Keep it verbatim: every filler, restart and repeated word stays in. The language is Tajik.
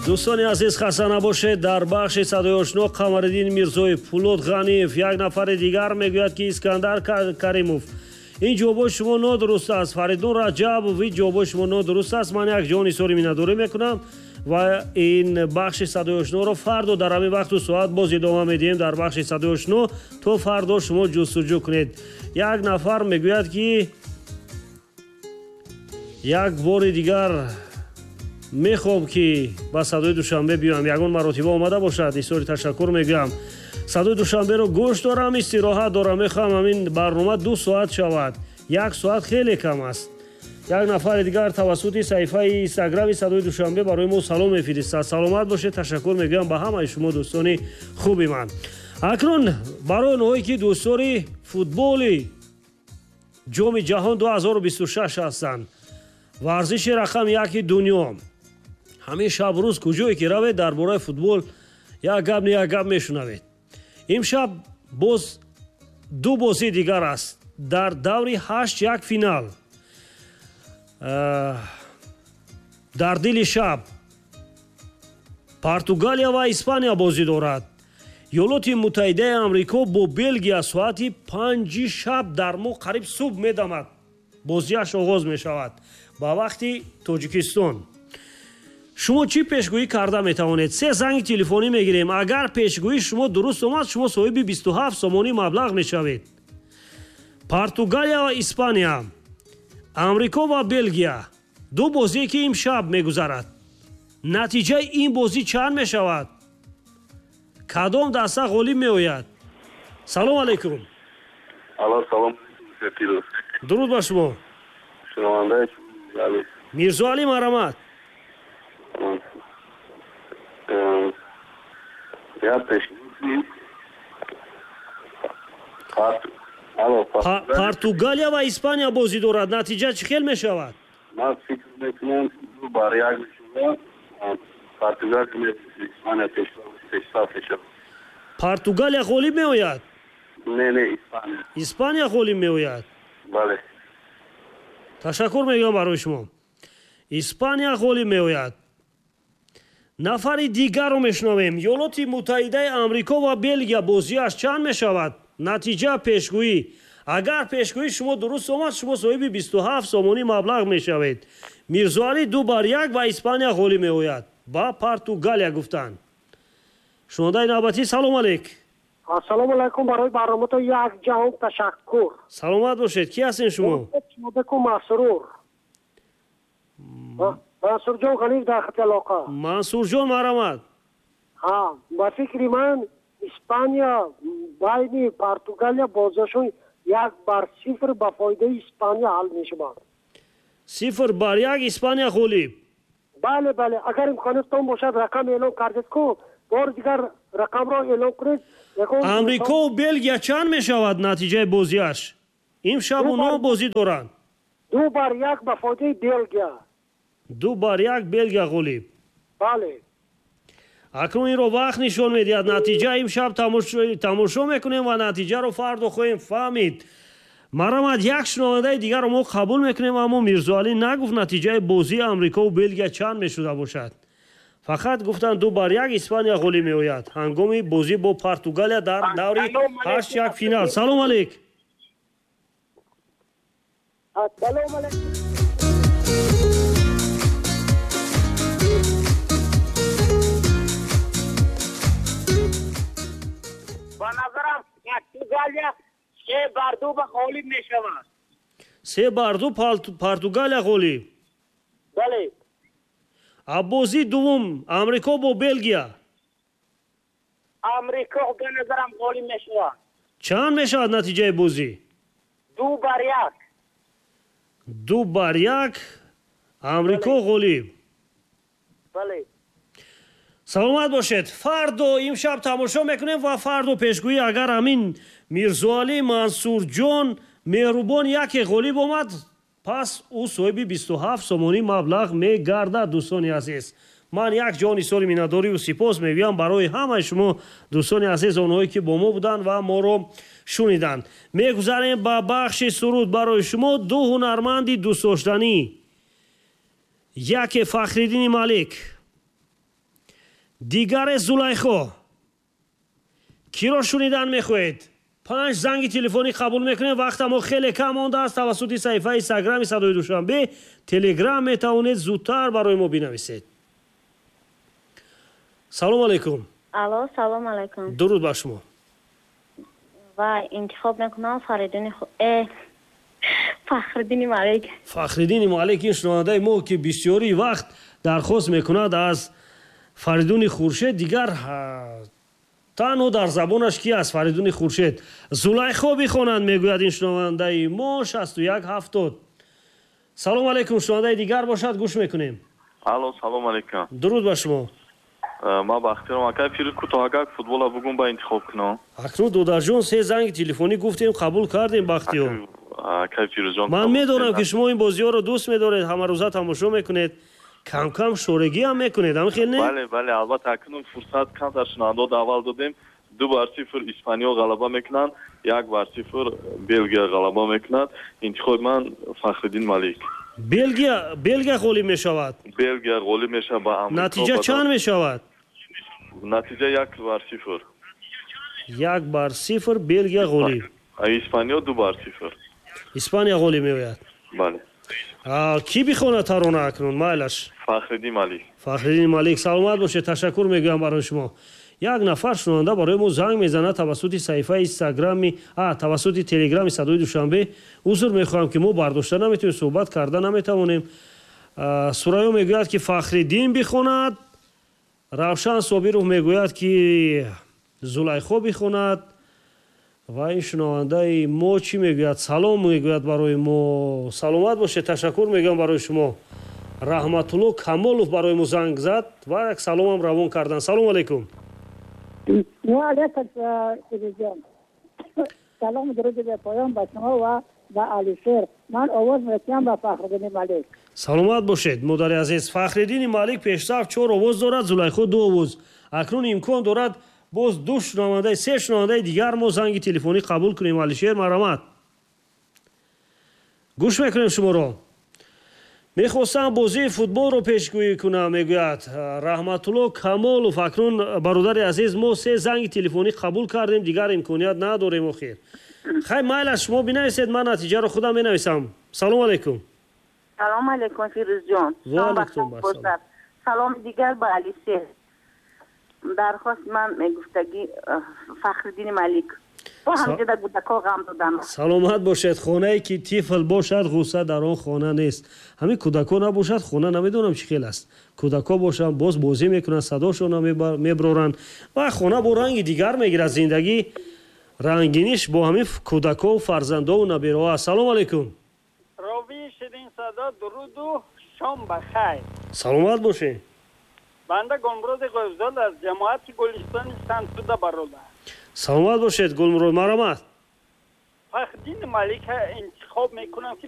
Дӯстони азиз, хаста набошед. Дар бахши садои ошно Қамариддин Мирзоев, Пулод Ғаниев, як нафари дигар мегӯяд, ки Искандар Каримов. Ин ҷавобои шумо нодуруст аст. Фаридун Раҷабов, ин ҷавобои шумо нодуруст аст. Ман як ҷон изҳори миннатдорӣ мекунам ва ин бахши садои ошноро фардо дар ҳамин вақту соат боз идома медиҳем. Дар бахши садои ошно то фардо шумо ҷустуҷӯ кунед. Як нафар мегӯяд, ки як бори дигар мехоҳам, ки ба садои Душанбе биёям. Ягон маротиба омада бошад, изҳори ташаккур мегӯям. Садои Душанберо гӯш дорам, истироҳат дорам, мехоҳам ҳамин барнома ду соат шавад, як соат хеле кам аст. Як нафари дигар тавассути саҳифаи инстаграми садои Душанбе барои мо салом мефиристад. Саломат бошед, ташаккур мегӯям ба ҳамаи шумо дӯстони хуби ман. Акнун барои онҳое, ки дӯстдори футболи ҷоми ҷаҳон ду ҳазору бисту шаш ҳастанд, варзиши рақами яки дунё, ҳамин шаб рӯз куҷое ки равед, дар бораи футбол як гап не як гап мешунавед. Имшаб боз ду бозии дигар аст дар даври ҳашт як финал. Дар дили шаб Португалия ва Испания бозӣ дорад. Иёлоти Муттаҳидаи Амрико бо Белгия соати панҷи шаб дар мо қариб субҳ медамад, бозиаш оғоз мешавад ба вақти Тоҷикистон. Шумо чӣ пешгӯӣ карда метавонед? Се занги телефонӣ мегирем. Агар пешгӯии шумо дуруст омад, шумо соҳиби бисту ҳафт сомонӣ маблағ мешавед. Португалия ва Испания, Амрико ва Белгия, ду бозие, ки имшаб мегузарад. Натиҷаи ин бозӣ чанд мешавад? Кадом даста ғолиб меояд? Салом алайкум. Алло, салом. Дуруд ба шумо. Мирзоалӣ, марҳамат. Португалия ва Испания бозӣ дорад. Натиҷа чӣ хел мешавад? Ман фикр мекунам, ду бар як мешавад. Португалия Испания пешрафт мешавад. Португалия ғолиб меояд? Не, не, Испания. Испания ғолиб меояд? Бале. Ташаккур мегӯям барои шумо. Испания ғолиб меояд. Нафари дигарро мешунавем. Иёлоти Муттаҳидаи Амрико ва Белгия бозиаш чанд мешавад? Натиҷа пешгӯӣ. Агар пешгӯии шумо дуруст омад, шумо соҳиби бисту ҳафт сомонӣ маблағ мешавед. Мирзоалӣ ду бар як ва Испания ғолиб меояд. Ба Португалия гуфтанд. Шунавандаи навбатӣ, салом алейк. Ассалому алайкум, барои барномаатон як ҷаҳон ташаккур. Саломат бошед. Кӣ ҳастед шумо? Шумодаку Масрур. Мансурҷон Ғаниев дар хати алоқа. Мансурҷон, марҳамат. Ҳа, ба фикри ман Испания байни Португалия бозиашон як бар сифр ба фоидаи Испания ҳал мешавад. Сифр бар як Испания ғолиб. Бале, бале, агар имкониятон бошад рақам эълон кардед ку, бори дигар рақамро эълон кунед. Амрико ва Белгия чанд мешавад натиҷаи бозиаш? Имшаб онҳо бозӣ доранд. Ду бар як ба фоидаи Белгия. Ду бар як Белгия ғолиб. Бале. Акнун инро вақт нишон медиҳад. Натиҷа имшаб тамошо мекунем ва натиҷаро фардо хоҳем фаҳмид. Марҳамат, як шунавандаи дигарро мо қабул мекунем, аммо Мирзоалӣ нагуфт натиҷаи бозии Амрико ва Белгия чанд мешуда бошад. Фақат гуфтанд ду бар як Испания ғолиб меояд ҳангоми бозӣ бо Португалия дар даври ҳашт як финал. Салом алейк. Салом алейк. Ба назарам Португалия се бар ду ба ғолиб мешавад. Се бар ду Португалия ғолиб. Бале. А бозии дуввум Амрико бо Белгия. Амрико ба назарам ғолиб мешавад. Чанд мешавад натиҷаи бозӣ? Ду бар як. Ду бар як Амрико ғолиб. Бале. Саломат бошед. Фардо имшаб тамошо мекунем ва фардо пешгӯӣ агар ҳамин Мирзоалӣ, Мансурҷон, Меҳрубон яке ғолиб омад, пас ӯ соҳиби бисту ҳафт сомонӣ маблағ мегардад. Дӯстони азиз, ман як ҷони соли миннатдорию сипос мегӯям барои ҳамаи шумо дӯстони азиз, онҳое ки бо мо буданд ва моро шуниданд. Мегузарем ба бахши суруд. Барои шумо ду ҳунарманди дӯстдоштанӣ. Яке Фахриддини Малик, дигаре Зулайхо. Киро шунидан мехоҳед? Панҷ занги телефонӣ қабул мекунем, вақтамо хеле кам мондааст. Тавассути саҳифаи Инстаграми Садои Душанбе, Телеграм метавонед зудтар барои мо бинависед. Салом алайкум. Алло, салом алайкум. Дуруд бар шумо. Ва интихоб мекунам Фаридуни, э Фахриддини Малик. Фахриддини Малик. Ин шунавандаи мо, ки бисёри вақт дархост мекунад аз Фаридуни Хуршед, дигар танҳо дар забонаш ки аст Фаридуни Хуршед. Зулайхо бихонанд, мегӯяд ин шунавандаи мо, шасту як ҳафтод. Салом алайкум. Шунавандаи дигар бошад, гӯш мекунем. Алло, салом алайкум. Дуруд ба шумо. Ман Бахтиёрам, акай Фирӯз. Кӯтоҳагак футбола бугум, ба интихоб кунам. Акнун, додарҷон, се занги телефонӣ гуфтем, қабул кардем, Бахтиёр. Акай Фирӯзҷон. Ман медонам, ки шумо ин бозиҳоро дӯст медоред, ҳамарӯза тамошо мекунед, камкам шорегиам мекунед, ҳамин хел не? Бале, бале, албатта. Акнун фурсат камтар шунавандо аввал додем. Ду бар сифр Испаниё ғалаба мекунанд, як бар сифр Белгия ғалаба мекунад. Интихоби ман Фахриддин Малик. Белгия, Белгия ғолиб мешавад? Белгия ғолиб мешавад ба Амрико. Натиҷа чанд мешавад? Натиҷа як бар сифр. Як бар сифр, Белгия ғолиб. Испаниё ду бар сифр. Испания ғолиб меояд. Бале. Кӣ бихонад тарона акнун, майлаш? Фахриддин Малик. Фахриддин Малик. Саломат бошед, ташаккур мегӯям барои шумо. Як нафар шунаванда барои мо занг мезанад тавассути саҳифаи Инстаграми, а тавассути Телеграми Садои Душанбе. Узр мехоҳам, ки мо бардошта наметавонем, суҳбат карда наметавонем. Сурайё мегӯяд, ки Фахриддин бихонад, Равшан Собиров мегӯяд, ки Зулайхо бихонад. Ва ин шунавандаи мо чӣ мегӯяд? Салом мегӯяд барои мо. Саломат бошед, ташаккур мегӯям барои шумо. Раҳматулло Камолов барои мо занг зад ва як саломам равон кардан. Салому алайкум. Алейкум, Фирӯзҷон, салом, дуруди бепоён ба шумо ва ба Алишер. Ман овоз метиҳам ба Фахриддини Малик. Саломат бошед, модари азиз. Фахриддини Малик пешсаф чор овоз дорад, Зулайхо ду овоз. Акнун имкон дорад боз ду шунавандаи, се шунавандаи дигар мо занги телефонӣ қабул кунем. Алишер, марҳамат, гӯш мекунем шуморо. Мехостам бозии футболро пешгӯӣ кунам, мегӯяд Раҳматулло Камолов. Акнун, бародари азиз, мо се занги телефонӣ қабул кардем, дигар имконият надорем охир. Хай, майла, шумо бинависед, ман натиҷаро худам менависам. Салому алайкум. Салому алайкум, Фирӯзҷон. Салом дигар ба Алишер. Дархост ман мегуфтагӣ Фахриддини Малик. Саломат бошед. Хонае ки тифл бошад, ғусса дар он хона нест. Ҳамин кӯдако набошад, хона намедонам чӣ хел аст. Кӯдако бошанд, боз бозӣ мекунанд, садошона меброранд ва хона бо ранги дигар мегирад. Зиндагӣ рангиниш бо ҳамин кӯдакову фарзандову набераҳо аст. Салому алайкум. Ровии ширинсадо, дуруду шом ба хайр. Саломат бошед. Банда Гулмуроди Ғоибзод аз ҷамоати Гулистони Сантуда, бародар. Саломат бошед, Гулмурод, марҳамат. Фахриддини Малика интихоб мекунам, ки